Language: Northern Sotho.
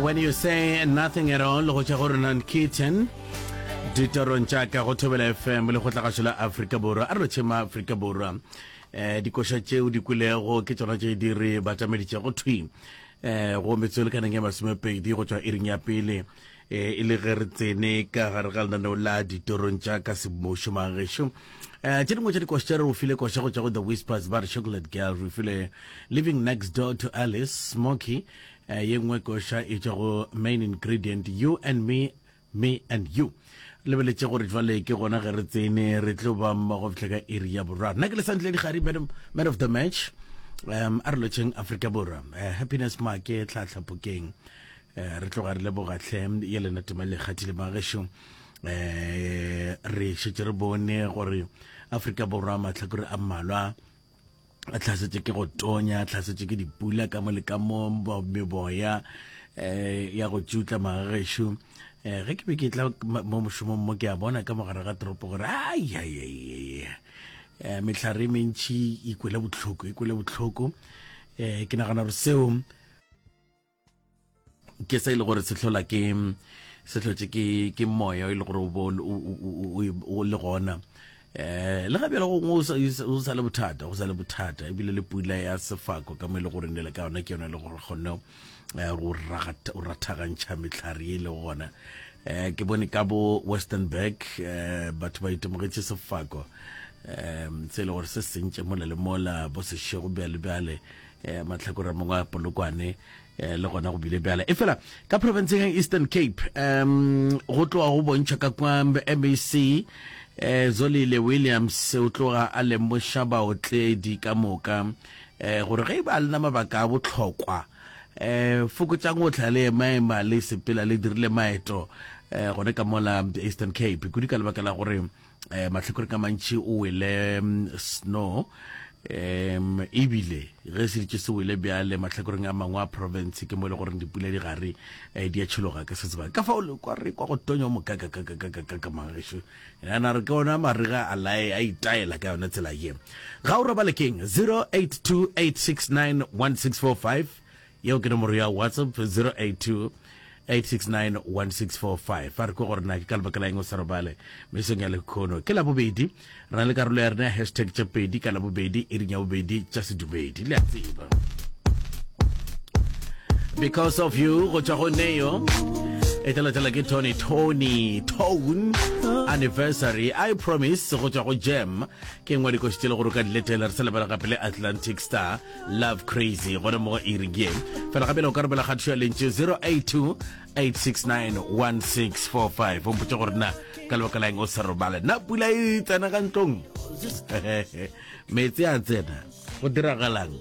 When you say nothing at all go tšwa go Ronan Keaton ditorong tša ka go Thobela FM le go tlagašo la Afrika Borwa a re lotšhe ma Afrika Borwa um dikoša tšeo di kwelego ke tšona tše di re batameditšego thwi um go metsotso e lekaneng ya masomepedi go tšwa iring ya pele e le ge re tsene ka gare ga lenaneo la ditorong tša ka semmušo magešo um tše dingwe tša dikoša tša re o file koša go tšwa go the whispers ba re chocolate girl re file living next door to alice smoky um ye nngwe koša e tšwa go main ingredient you and me me and you lebeletše gore jwale ke gona ge re tsene re tlo ba mmogo fihla ka iri ya boraro nna ke lesantle digari man of the match um a re lotšheng afrika borwa uh, happiness make tlhatlhapokeng Eh, re tloga re leboga hle ye lena tema le kgathile magešo um eh, re šetše re bone gore afrika borwa mahlakore a mmalwa a tlhasetše ke go tonya a tlhasetše ke dipula ka mo le ka mo meboya um ya go tšutla magagešo um ge ke be ke tla mo mošomong mo ke a bona ka mogare ga toropo gore aiaiai um mehlare e mentšhi e kwele bohloko e kwele bohloko um ke nagana gore seo ke se e le gore se hlola ke se hlotše ke ke moya e le gore o bo o le gona eh le ga bjale go o sa le bothata go sa le bothata ebile le pula ya sefako ka mo e le gore ne le ka yona ke yona e le gore kgonne eh, go rathagantšha mehlare e le gona eh ke bone ka bo Westernburg eh batho ba itemogetše sefako um se e le gore se sentše mola le mola bo sešego bjale bjale eh mahlakore a mangwe a polokwane eh, le gona go bile bjale e fela ka provinceng ya eastern cape um go tloga go bontšha ka kwa mac eh, zolile williams o tloga a lemoša baotledi ka moka eh, gore ge e ba lena mabaka a bohlokwa eh fokotšang go tla le emaema le sepela le dirile maeto eh gone ka mola eastern cape kudu ka lebaka la gore eh mahlakore ka mantši o wele mm, snow um ebile ge se ditše se wele bjale mahlakoreng a mangwe a province ke mo e le goreng dipula di gare eh, di a tšhologa ka se sebaka ka fao le kwa re kwa go tonya mo kakakakakakaka magešo yana re ke ona marega a lae a itaela ka yona tsela ye ga o robale keng 0828691645 Yeo ke nomoro ya WhatsApp 082 869 1645. Fa re kwe gore na ke ka lebaka la eng o sa robale mesong ya lekhono. Ke Labobedi, re na le karolo ya rena ya hashtag tše pedi ka Labobedi, iring ya bobedi tša sedumedi. Le a tseba. Because of you go tšwa go Neo e tla latela ke Tony Tony Tone anniversary I promise go tšwa go Jam ke nngwe dikoši tše le gore o ka di letela re sa lebala gape le Atlantic Star Love Crazy gona mo go iri ye fela gape le o ka romela kgatišo ya lentšu 082 869 1645 o mpotše gore na ka lebaka la eng o sa robale na pula e tsena ka ntlong meetse a tsena go diragalang?